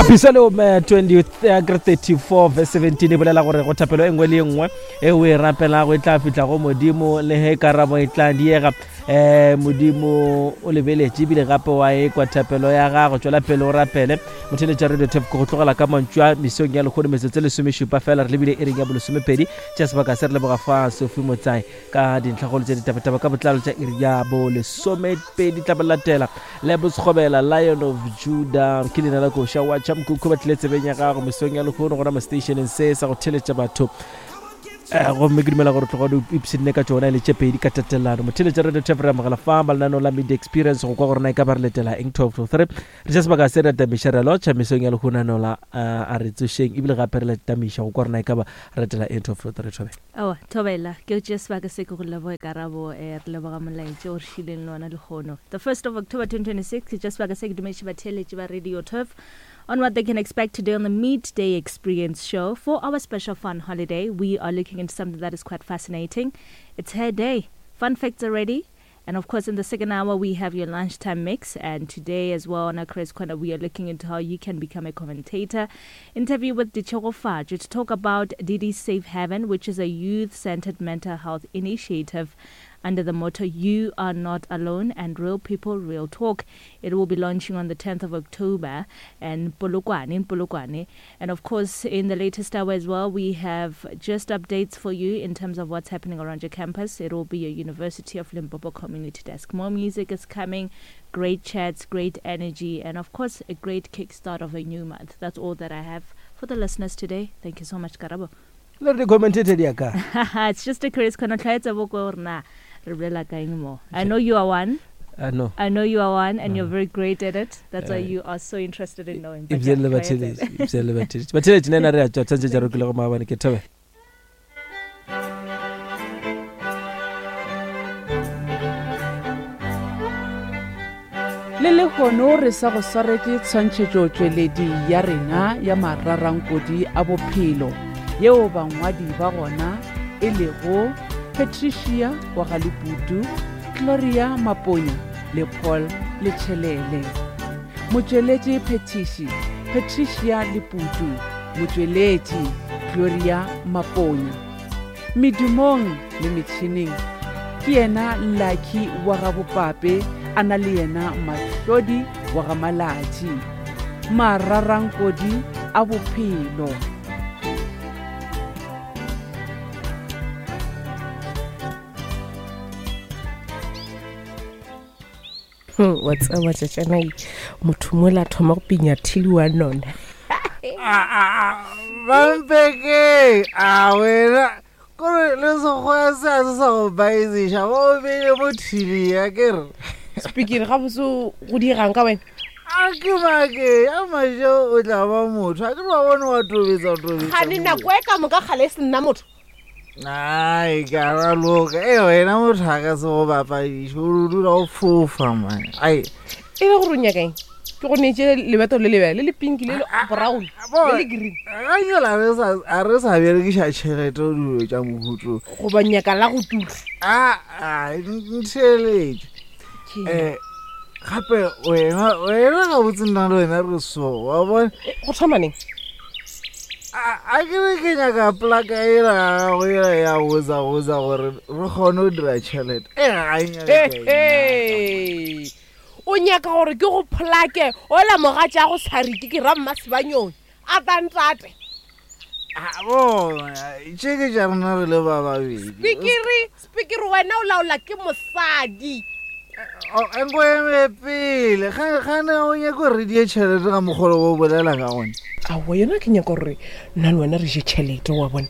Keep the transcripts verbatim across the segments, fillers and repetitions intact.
Apisalome twenty-four verse seventeen e bolela gore go thapelo e nngwe le e nngwe e o e rapelago e tla fihla go Modimo, le ge karabo e tla diega. Eh, Modimo o lebeletše ebile gape wa e kwa thapelo ya gago. Tšwela pele o rapele. Motheletša Radio Turf go tlogela ka mantšu a mesong ya lekgono metsotso e lesomešupa fela, re lebile ering ya bolesomepedi tša sebaka se. Re leboga fa Sophie Motsai ka dintlhakgolo tše ditabataba ka botlalo tša iri ya bolesomepedi. Tla ba latela Lebosekgobela Lion of Judah ke leina la koša wa tšhamkhukhu ba tlile tsebeng ya gago mesong ya lekgono gona mo stationeng se sa go theletša batho. Gomme ke dumela gore tloga o ipshinne ka tšona e le tše pedi ka tatelano. Motheletša Radio Turf re amogela fa ba lenaneo la Media Experience go kwa gore na e ka ba re letela eng twelve to three. Re tša sebaka se re atamiša re lotšha mesong ya lekgono la a re tsošeng ebile gape re letamiša go kwa gore na e ka ba re letela eng twelve to three. Thobela. Aowa, thobela ke o tšea sebaka se ke go leboge karabo. Eh, re leboga molaetša o re šileng le ona lekgono. The first of October twenty twenty-six, ke tšea sebaka se ke dumediše batheeletši ba Radio Turf on what they can expect today on the Midday Experience show. For our special fun holiday, we are looking into something that is quite fascinating. It's Hair Day. Fun facts are ready. And of course, in the second hour, we have your lunchtime mix. And today as well on our Chris Corner, we are looking into how you can become a commentator. Interview with Ditshego Faju to talk about Didi Safe Haven, which is a youth-centered mental health initiative under the motto, You Are Not Alone and Real People, Real Talk. It will be launching on the tenth of October and Polokwane, in Polokwane. And of course, in the latest hour as well, we have just updates for you in terms of what's happening around your campus. It will be your University of Limpopo Community Desk. More music is coming, great chats, great energy, and of course, a great kickstart of a new month. That's all that I have for the listeners today. Thank you so much, Karabo. Le re commentator di ka. It's just a curious corner. Tlwaetsa boko hore na re bolela ka eng mo. I know you are one. I know. I know you are one, and no. You're very great at it. That's uh, why you are so interested in knowing. Ibzele batheletši, ibzele batheletši. Batheletši nna re a tšwa tšantše tša re kile go maabane ke thabe. Le lehono re sa go swaretše tshwantšhetšo tšweledi ya rena ya mararankodi a bophelo yeo bangwadi ba gona e lego Patricia wa Galeputu, Gloria Maponya le Paul Letšhelele. Motšweletši Phetiši Patricia Leputu, motšweletši Gloria Maponya. Medumong le metšhineng ke yena Lucky wa ga Bopape, a na le yena Mahlodi wa ga Malatši. Mararankodi a bophelo. Wa tseba tšatšana motho mola thoma go pinya thili wa nona. Bampeke a wena kore le sekgowa se a se sa go baeziša ba o beile mo thili ya ke re Speaking ga botse go dirang ka wena. A ke make a majo o tla ba motho a ke ba bone wa tobetsa tobetsa. Gane nako e ka moka kgale e se nna motho. Ai, ka loka. E wena motho a ka se go bapadiše o dula o fofa man. Ai. E be gore o nyaka eng? Ke go neetše lebeto le lebele le le pink le le brown le le green. Ga nyola re sa a re sa berekiša tšhelete o dilo tša mohuto. Goba nyaka la go tura. A a ntheletše. Eh gape wena wena ga botse nna le wena re so wa bona. Go thoma neng? A ke re ke nyaka plaka ela gago ela ya botsa botsa gore re kgone go dira tšhelete. E ga e nyaka. O nyaka gore ke go plake ola mogatša go sariki ke ra mmasebanyoni a tantate. A bona tše ke tša rena re le ba babedi. Speakere, speakere wena o laola ke mosadi. Nko eme pele gane o nyaka gore re die tšhelete ga mokgolo o bolela ka gona. Aowa yona ke nyaka gore nna le wena re je tšhelete wa bona.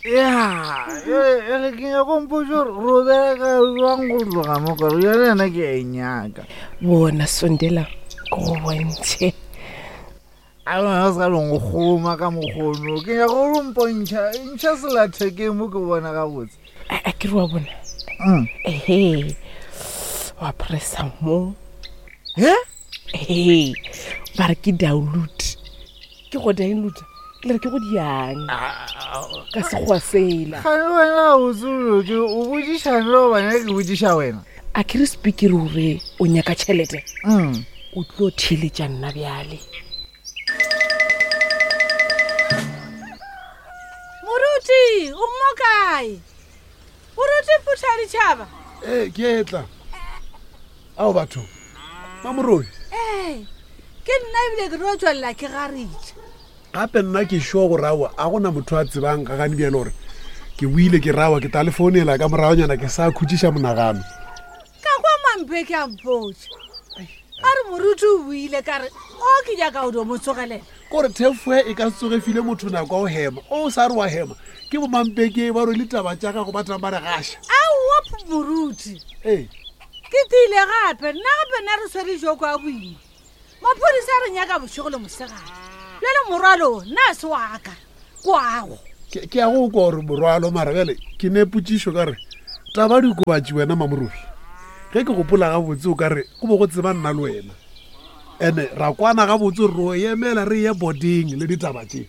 Ya, ele ke nyaka go mpotša gore re o bereka jwang go tloga mo kore yone yena ke a e nyaka. Bona sondela ke go bontšhe. A wena o se ka long go kgoma ka mokgono ke nyaka gore o mpontšha ntšha selathekeng mo ke bona gabotse. A ke re wa bona. Ehe. Wa pressa mo. He? Ehe. Ba re ke download. Ke go download. Le re ke go diang. Ka sekgowa sela. Gane wena o tsolo ke o botšišane le gobane ke botšiša wena. A ke re speaker gore o nyaka tšhelete. Mm. O tlo theeletša nna bjale. Moruti, o mo kae? Moruti phutha ditšhaba. Ee, ke etla. Ao batho. Mamorobi. Ee, ke nna ebile ke tlo tswelela ke garitša. Gape nna ke sure gore aowa a gona motho a tsebang ga gane bjale gore ke buile ke rawa ke tla le founela ka moragonyana ke sa khutšiša monagano. Ka kwa mampe ke a mpotša. A re moruti o buile ka re o ke nyaka o dio mo tsogelela. Kore thefo e ka se tsoge file motho nako ya go hema. O sa re wa hema ke bomampeke ba rwele taba tša gago ba tlang ba re gaša. Aowa moruti. Ee. Ke tiile gape nna gape nna re swere joko a boima. Maphodisa a re nyaka bošego le mosegare. Bjale morwalo nna se wa ka kwago. Ke ke a go kwa gore morwalo mara bjale ke ne potšišo ka re taba dikobatši wena Mamorobi. Ge ke gopola gabotse o ka re go bo go tseba nna le wena. Ene ra kwana gabotse gore ro emela re ye boarding le ditaba tše.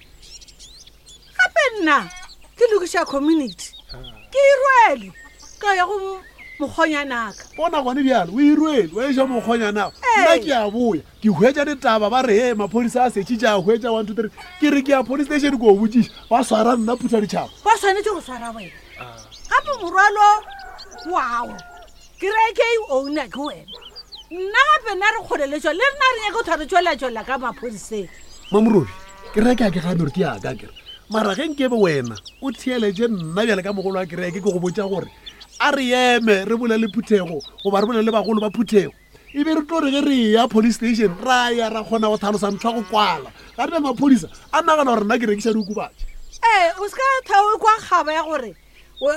Gape nna ke lokiša community. Ke e rwele ka ya go mokgonyanaka. Bona gone bjale o e rwele wa eša mokgonyanaka. Nna ke a boya ke hwetša ditaba ba re he maphodisa a setšitše a hwetša one two three ke re ke ya police station ko botšiša ba swara nna phutha ditšhaba. Ba swanetše go swara wena. Gape morwalo wao kereke e owner ke wena. Nna gape nna re kgoleletšwa le rena re nyaka go thwa re tšwelatšwelela ka maphodiseng. Mamorobi kereke a ke gane gore ke yaka kere mara ge nkebe wena o theeletše nna bjale ka mogolo wa kereke ke go botša gore a re eme re bolele phuthego goba re bolele bagolo ba phuthego e be re tlo re ge re ya police station ra ya ra kgona go tlhalosa ntho ya go kwala ga re maphodisa a nagana gore nna ke rekiša diokobatši. Ee, o se ka thao kwa kgaba ya gore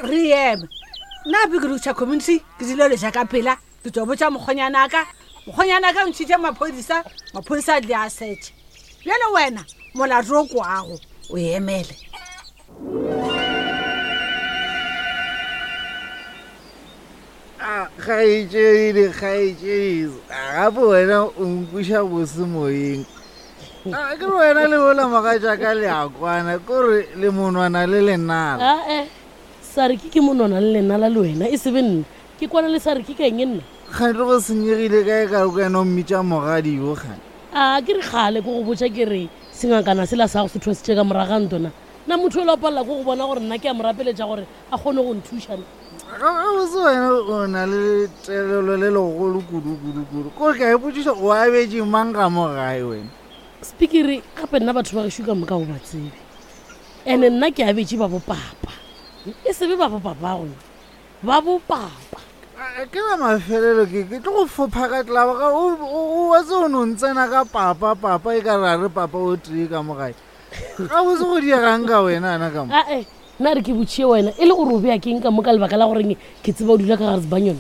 re eme. Nna gape ke lokiša community ke dileletša ka pela ke tlo botša mokgonyanaka. Mokgonyanaka o ntšhitše maphodisa, maphodisa a tle a setše. Bjale wena molato o kwago o emele. A kgaetšedi, kgaetšedi, gape wena o nkweša bose moyeng. A ke re wena le bola mogatšaka le a kwana kore le monwana le lenala. Ae, Sariki ke monwana le lenala le wena e se be nna. Ke kwana le Sariki ka eng nna? Kgante go senyegile kae ka wena o mmitša mogadi yo kgane? A ke re kgale ko go botša ke re sengakana sela sa go se thwasitše ka moraga ntona. Na motho o la palela ko go bona gore nna ke a mo rapeletša gore a kgone go nthuša na. Gabotse wena o na le telelo le legolo kudu kudu kudu. Kore ke a ipotšiša o abetše mang ka mo gae wena? Speakere gape nna batho ba gešo ka moka o ba tsebe. Ene nna ke abetše ba bopapa. E se be ba bopapago, ba bopapa. Ke la mafelelo ke ke tlo go fopha ka tlaba ga o o wa tse o no ntsena ka papa papa e ka ra re papa o tee ka mo gae. Gabotse go diegang ka wena ana ka mo? Ae, nna re ke botšie wena e le gore o bea keng ka mo ka lebaka la goreng ke tseba o dula ka gare sebanyone.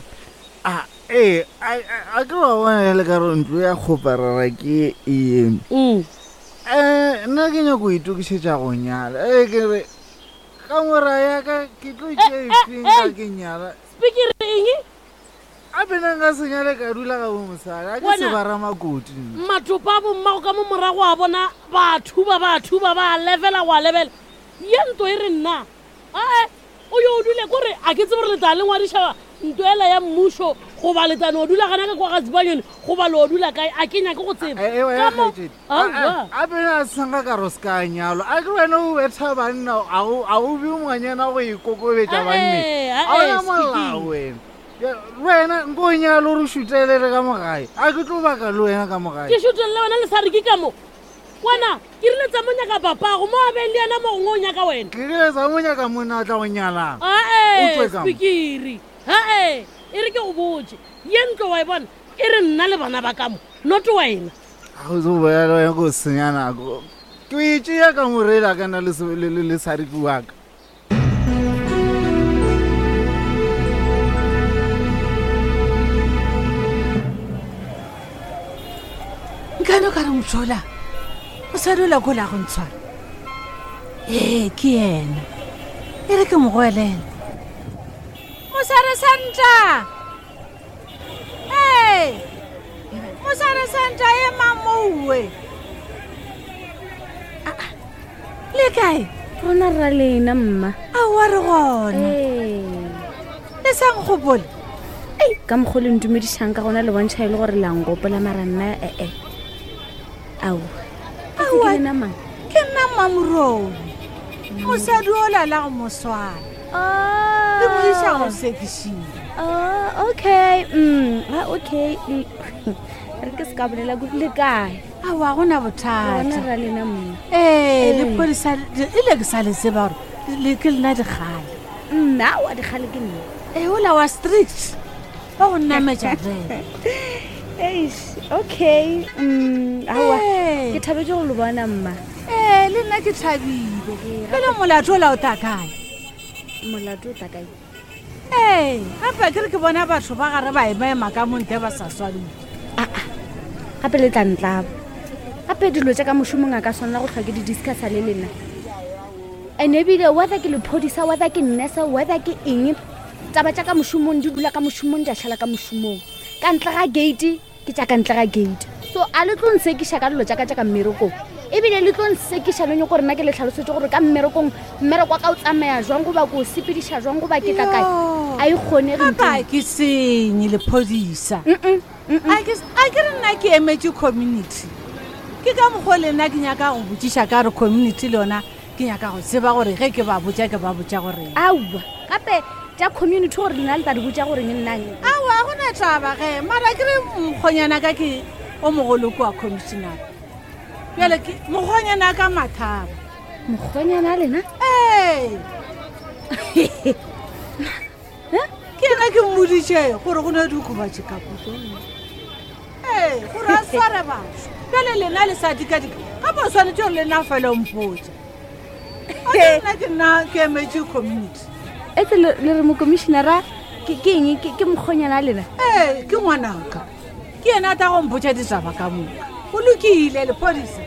A ee, a ke wa bona le ka re ntlo ya kgoparara ke eno. Mm. Eh, nna ke nyako itokišetša go nyala. Ee, ke re ka mora ya ka ke tlo tšea efeng ka ke nyala. Speakere eng? A pena nka se nyale ka dula ga bo mosadi, a ke Wena, sebara makoti nna. Matopa a bommago ka mo morago a bona ba thuba ba thuba ba levela go a lebela. Ye ntlo e re nna. Ae, o yo o dule kore a ke tsebe gore le tla le ngwadiša ntlo ela ya mmušo goba le tla no dula gana ka kwa ga Sibanyoni goba le o dula kae a ke nyake go tseba. Eh, eh, wena Ka mo- kgaetšedi. Aowa. A pena a senga ka re o se ka nyalwa. A ke wena o betha banna, a o a o be ngwanyana go ikokobetša Ae, banneng. ae, A ona molao speaking. wena. Ya, wena nko o nyale o re šutelele ka mo gae. A ke tlo baka le wena ka mo gae. Ke šutelele wena le Sariki ka mo. Wena ke rile tsa mo nyaka papago mo a beng le yena mo gongwe o nyaka wena. Ke rile tsa mo nyaka monna a tla go nyalang. O Ae, tswe ka mo. Speakere. Ae, e re ke go botše. Ye ntlo wa e bona e re nna le bana ba ka mo, not wena. A go tlo bolela le wena ko senya nako. Ke o e tšea ka morela ka nna le se- le- le- le Sariki wa ka. Nkane o ka re motho ola mosadi ola ko la go ntshwara. Ee, ke yena. E re ke mo goelele. Mosadi Santa! Ee! Mosadi Santa ema mowe. Ah, ah, le kae? Rona ra lena mma. Aowa re gona. Ee. Le sa nkgopole? Ei, ka mokgwa o le ntumedišang ka gona le bontšha e le gore la ngopola mara nna ee. Ao. Aowa. Ke lena mang? Ke nna Mmamorobi. Mosadi o lala go moswana. Oh. Le mo isa go sekišiwa. Oh, okay. Mm, ah, okay. Mm. Re ke se ka bolela kudu le kae? Aowa gona Gona bothata. ra lena mma. Ee, lephodisa ile ke sa le tseba gore le ke lena dikgale. Nna wa dikgale ke nna. Ee, ola wa strict ba go nnametša fela. Eish, okay. Mm, aowa. Ee. Ke thabetse go le bona mma. Ee, le nna ke thabile. Ee, Pele molato ola o ta kae? Molato o tla kae? Ee, gape ke re ke bona batho ba gare ba emaema ka montle ba sa swariwe. Aa, gape le tla ntlaba. Gape dilo tša ka mošomong a ka swanela go hlwa ke di discussa le lena. And ebile whether ke lephodisa, whether ke nurse, whether ke eng, taba tša ka mošomong di dula ka mošomong di a šala ka mošomong. Ka ntle ga gate ke tša ka ntle ga gate. So a le tlo nsekiša ka dilo tša ka tša ka mmerekong. Ebile le tlo nsekiša le nyako gore nna ke le tlhalosetse gore ka mmerekong mmereko wa ka o tsamaya jwang goba ke o sepediša jwang goba ke tla kae. Yo. A e kgonege Gape ntho a ke senye lephodisa. Mm-mm, mm-mm. A ke a ke re nna ke emetse community. Ke ka mokgwa o le nna ke nyaka go botšiša ka gore community le yona ke nyaka go tseba gore ge ke ba botša ke ba botša goreng. Aowa, gape tša community gore lena le tla di botša gore nna Aowa ga gona taba ge mara ke re mokgonyana ka ke o mogolo kua commissioner. Bjale ke mokgonyana ka Mathaba. Mokgonyana a lena? Ee. Ke yena ke mmoditše gore go ne diokobatši ka puto. Ee, gore a sware batho. Bjale lena le sa dikadika gape o swanetše gore lena fela o mpotša. A ke nna ke nna ke emetše community. Etse le le re mokomišenara ke ke eng ke ke mokgonyana a lena? Ee, ke ngwanaka. Ke yena a tla go mpotša ditaba ka moka. Go lokile lephodisa.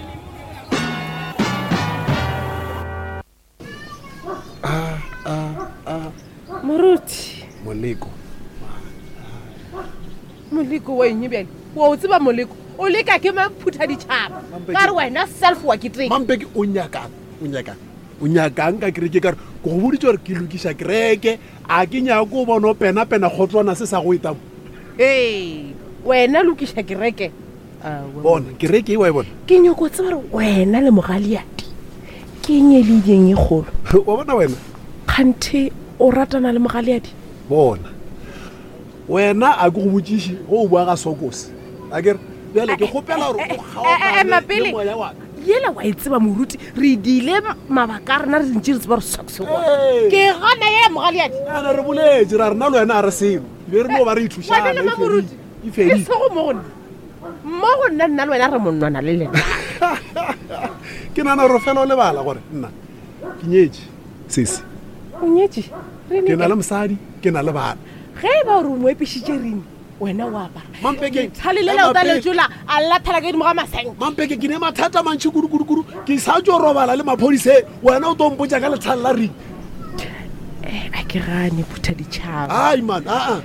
Moruti, Moleko. moleko wa eng bjale? Wa o tseba moleko? O leka ke maphutha ditšhaba. Ka re wena self wa keteka. Mampeke o nyakang, o nyakang. O nyakang ka kereke ka re ke go boditse gore ke lokiša kereke a ke nyako o bona o pena-pena kgotlwana se sa go eta mo. Ee, wena lokiša kereke. Aowa. Bona kereke e wa e bona. Ke nyako tseba gore wena le mogaleadi ke eng e le ileng e kgolo. Wa bona wena? Kganthe o ratana le mogaleadi? Bona. Wena a ke go botšiše go o bua ga sokose. A ke re bjale ke kgopela gore o Eh, eh, kgaogane ema pele. le moya wa ka. Yela wa e tseba moruti, re dile mabaka a rena re ntse re tseba gore socks gona. Ee. Ke gana ye mogaleadi. Ana re boletse ra rena le wena a re selo. Be re no ba re ithušana. Wena le e fedile, Mamoruti, E e fedile. sego mo go nna. Mo go nna nna le wena re monwana le lena. Ke nahana gore fela o lebala gore nna ke nyetše sesi. O nyetše? Re Ke na ne le mosadi, ke na le bana. Ge e ba gore o mo epišitše reng, wena o apara. Mampeke, Lethale le la o ema tla pele. letsola a lathela ka godimo ga masenke. Mampeke ke ne mathata a mantši kudu-kudu-kudu ke sa tšo robala le maphodiseng wena o tlo mpotša ka lethale la ring. Eh, a ke gane phutha ditšhaba. Ai man, aa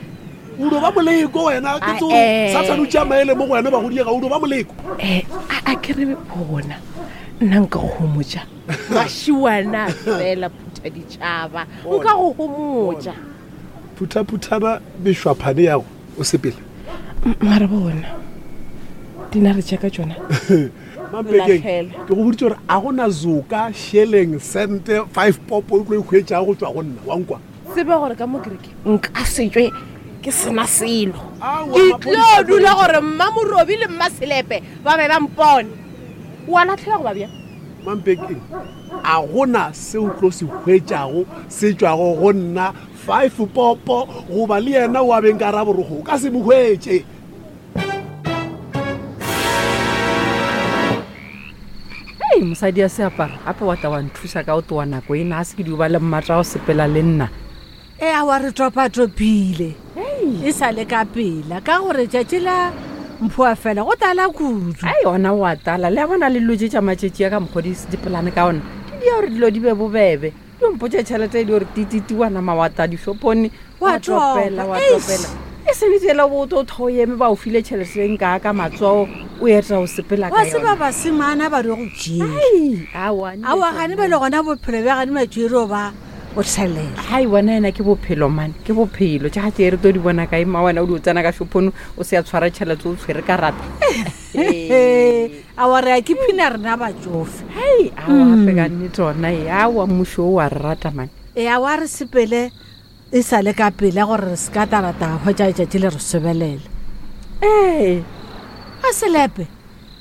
o do ba moleko wena ke Ah, tse eh. sathane o tšea maele mo go wena ba go diega o do ba moleko. Eh, a a ke re bona nna nka go homotša. Mašiwana fela phutha ditšhaba. Nka go homotša. Phutha-phuthana mešwaphane yago o sepele. M- Mara bona dinare tša ka tšona. Mampekeng Latlhela. ke go boditse gore a gona zoka sheleng sente five popo o tlo e hwetšago go tšwa go nna wa nkwa. Tseba gore ka mo kereke nka se tšwe ke sena selo. Aowa, Ke maphodisa tlo dula gore mmamorobi le mmaselepe ba be ba mpone. Wa latlhela goba bjang? Mampekeng a gona se o tlo se hwetšago se tšwago go nna five popo goba le yena wa beng ka raborogo o ka se mo hwetše. Ei, mosadi ya seaparo gape wa tla wa nthuša ka o towa nako ena a se ke di o ba le mmatla go sepela le nna. Ee, aowa re topatopile. E sa le ka pela ka gore tšatši la mphoa fela go tala kudu. Ai ona o a tala le a bona le dilo tše tša matšatši a ka mokgwa di dipolane ka ona di dia gore dilo di be bobebe. Di mpotše tšhelete e di gore tititi wa nama wa ta dishopong Wa wa topela topa, wa eish. topela. E sene tsela bo o tho eme ba o file tšhelete e nka ka matsogo o eta o sepela ka Wa tseba yona. basemana ba re go tšea. Ai, aowa Aowa gane ba le gona bophelo bja gane matšwero ba O tšhelela. Hai wena ena ke bophelo mane, ke bophelo. Tša ga tše re tlo di bona kae mma wena o di o tsena ka shopong o se a tshwara tšhelete o tshwere karata. Awa re a ke phina rena batsofe. Hei, awa gape ka nnete ona e awa mmušo o wa re rata mane. E awa re sepele e sa le ka pele gore re se ka tarata hwetša letšatši le re sobelela. Ee. A selepe.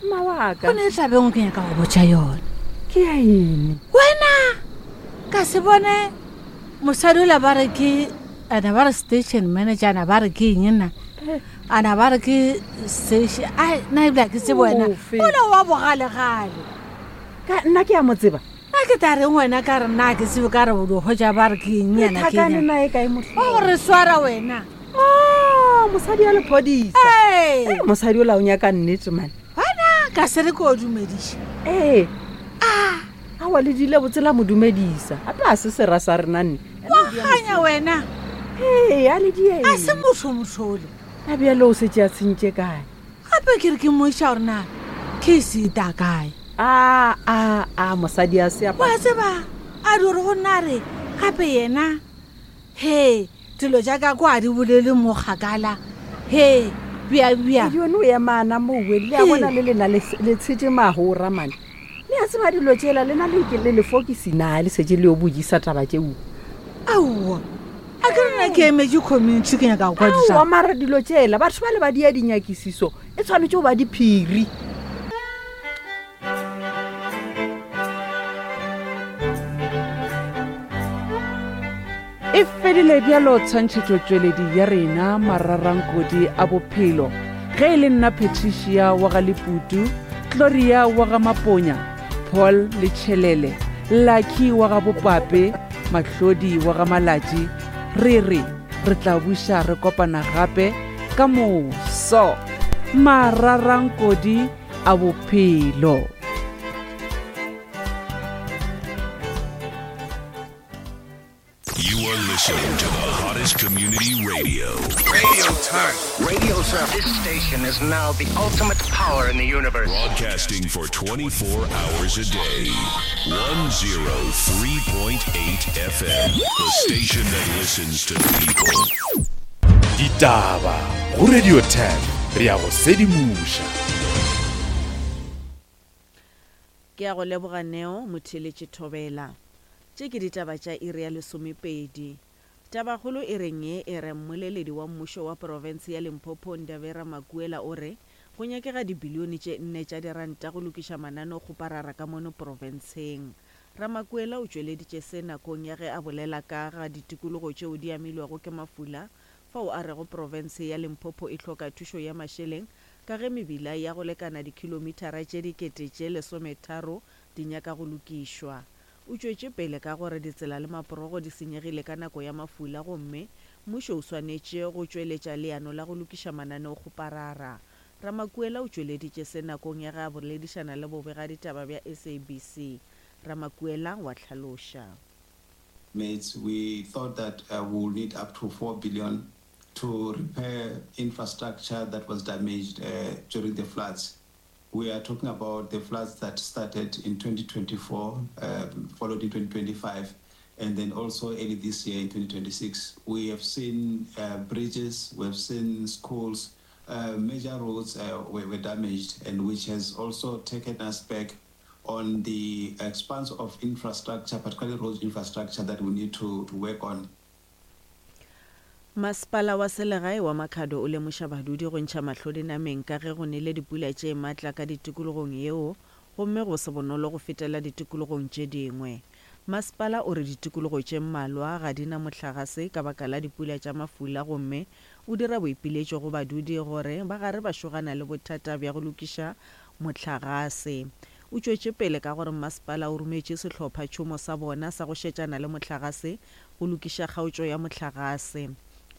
Mma wa ka. Go ne tlabeng ke nyaka go botša yona. Ke ya eng? Wena ka se bone mosadi ola ba re ke ana ba re station manager ana ba re ke eng nna? Ana ba re ke station ai nna ebile ha ke tsebe wena. Ofe? Ola wa bogalegale. Ka nna ke a mo tseba. Nna ke tla reng wena ka re nna ke tsebe ka re o di hwetša ba re ke eng Re yena ke thakane eng? nae kae motho? Wa go re swara wena. Oh, mosadi ya lephodisa. Ee. Ee, mosadi ola o nyaka nnete mane. Wena ka se re ke o dumediša. Ee. Ah, awa le dile botse la mo dumedisa. Gape a se sera sa rena nne. Wa ganya wena. Ee, a le die. A se motho mothole. A bjale o setse a tshentše kae? Gape ke re ke moiša gore na case e ta kae. A, a, a, mosadi a se a Wa tseba, a di gore go nna re gape yena he dilo tša ka kwa di bolele mo kgakala. He bja bja. Yone o emana mowe le a bona le lena le le tshetše magora mane. Le a tseba dilo tšela lena le ke le lefokisi na le setse le yo bojisa taba tšeo. Aowa. A ke re nna ke emetše community ke nyaka go kwa Aowa ditaba. mara dilo tšela batho ba le ba dia dinyakisiso e tshwanetse go ba diphiri. E fedile bjalo tshwantšhetšotšweledi ya rena mararankodi a bophelo. Ge e le nna Patricia wa ga Leputu, Gloria wa ga Maponya, Paul Letšhelele, Lucky wa ga Bopape, Mahlodi wa ga Malatši, re re re tla buša re kopana gape ka moso. Mararankodi a bophelo. You are listening to the hottest community radio. Radio Turf. Radio Turf. This station is now the ultimate power in the universe. Broadcasting for twenty-four hours a day. one oh three point eight F M. The station that listens to people. Ditaba go Radio Turf re ya go sedimoša. Ke a go leboga Neo motheeletši Thobela. Tše ke ditaba tša iri ya lesomepedi. Tabakgolo e reng ye e re mmoleledi wa mmušo wa profense ya Limpopo Ndavera Makuela o re go nyakega dibilione tše nne tša diranta go lokiša mananeokgoparara ka mono profenseng. Ramakuela o tšweleditše se nakong ya ge a bolela ka ga ditikologo tšeo di amilwego ke mafula fao a rego profense ya Limpopo e hloka thušo ya mašeleng ka ge mebila ya go lekana dikhilomithara tše dikete tše lesometharo di nyaka go lokišwa. O tšwetše pele ka gore ditsela le maporogo di senyegile ka nako ya mafula gomme mmušo o swanetše go tšweletša leano la go lokiša mananeokgoparara. Ramakuela o tšweleditše se nakong ya ge a boledišana le bobegaditaba bja S A B C. Ramakuela wa hlaloša. Mates, we thought that, uh, we will need up to four billion to repair infrastructure that was damaged, uh, during the floods. We are talking about the floods that started in twenty twenty-four, um, followed in twenty twenty-five, and then also early this year in twenty twenty-six. We have seen, uh, bridges, we have seen schools, uh, major roads, uh, were, were damaged, and which has also taken us back on the expanse of infrastructure, particularly road infrastructure, that we need to, to work on. Masepala wa selegae wa Makhado o lemoša badudi go ntšha mahlo dinameng ka ge go nele dipula tše matla ka ditikologong yeo gomme go se bonolo go fetela ditikologong tše dingwe. Masepala o re ditikologo tše mmalwa ga di na mohlagase ka baka la dipula tša mafula gomme o dira boipiletšo go badudi gore ba gare ba šogana le bothata bja go lokiša mohlagase. O tšwetše pele ka gore masepala o rometše sehlophatšhomo sa bona sa go šetšana le mohlagase go lokiša kgaotšo ya mohlagase.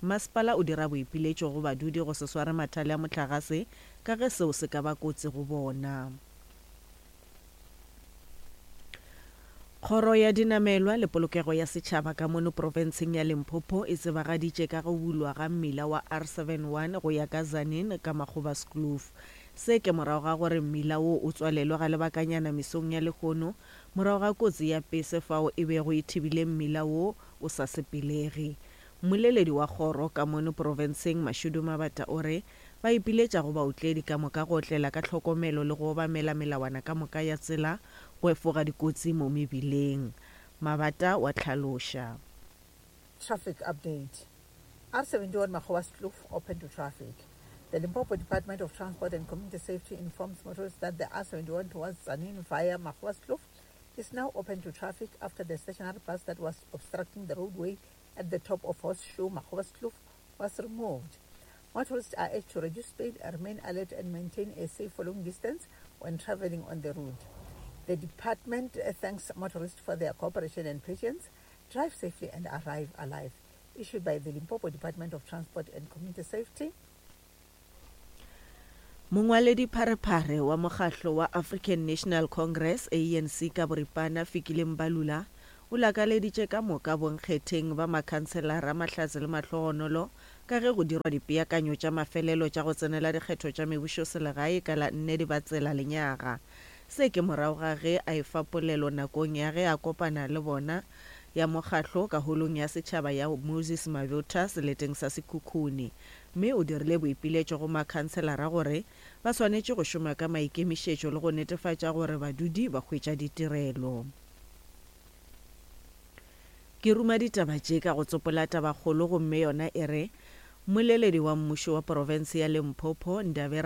Masepala o dira boipiletšo go badudi go se sware mathale a mohlagase ka ge seo se ka ba kotsi go bona. Kgoro ya dinamelwa le polokego ya setšhaba ka mono profenseng ya Limpopo e tsebagaditše ka go bulwa ga mmila wa R seven one go ya ka Tzaneen ka Makgobaskloof. Se ke morago ga gore mmila wo o tswalelwe ga lebakanyana mesong ya lehono morago ga kotsi ya pese fao e bego e thibile mmila wo o sa sepelege. Mmoleledi wa kgoro ka mono profenseng Mashudu Mabata o re ba ipiletša go baotledi ka moka go otlela ka tlhokomelo le go obamela melawana ka moka ya tsela go efoga dikotsi mo mebileng. Mabata wa tlhaloša. Traffic update. R seventy-one Magoaskloof open to traffic. The Limpopo Department of Transport and Community Safety informs motorists that the R seventy-one towards Tzaneen via Magoaskloof is now open to traffic after the stationary bus that was obstructing the roadway at the top of Horseshoe Magoaskloof was removed. Motorists are urged to reduce speed, remain alert and maintain a safe following distance when traveling on the route. The department thanks motorists for their cooperation and patience. Drive safely and arrive alive. Issued by the Limpopo Department of Transport and Community Safety. Mongwaledi pharephare wa mokgahlo wa African National Congress, A N C ka boripana Fikile Mbalula, o lakaleditše ka moka bonkgetheng ba makhanselara Mahlatse le Mahlogonolo ka ge go dirwa dipeakanyo tša mafelelo tša go tsenela dikgetho tša mebušo selegae ka la nne Dibatsela lenyaga. Se ke morago ga ge a efa polelo nakong ya ge a kopana le bona ya mokgahlo ka holong ya setšhaba ya Moses Mabota seleteng sa Sekhukhune, mme o dirile boipiletšo go makhanselara gore ba swanetše go šoma ka maikemišetšo le go netefatša gore badudi ba hwetša ditirelo. Ke ruma ditaba tše ka go tsopola tabakgolo gomme yona e re mmoleledi wa mmušo wa profense ya Limpopo Ndabera